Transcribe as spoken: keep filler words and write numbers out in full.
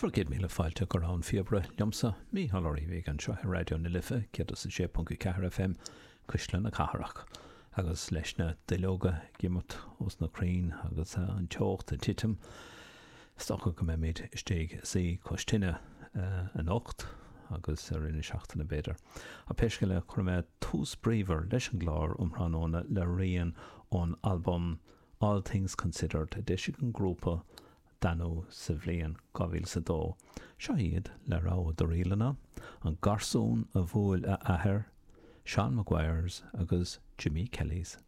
Bhur gcéad míle fáilte go Rogha an Phíobaire liomsa, Mícheál Ó Riabhaigh anseo ar Raidió na Life céad is a sé ponc a ceathair FM, Cuisle na Cathrach. Agus leis na duilleoga ag imeacht ós na crainn agus an teocht ag titim, is dócha go mbeimid istigh ag suí cois tine anocht agus i rith na seachtaine b'fhéidir. Ach pé scéal é, cuirfidh mé tús bríomhar leis an gclár um thráthnóna le rian ón albam All Things Considered a d'eisigh an grúpa Danú sa bhliain dhá mhíle is a dó. Seo iad, le rogha de ríleanna, An Garsún a Bhuail a Athair, Seán Maguire's agus Jimmy Kelly's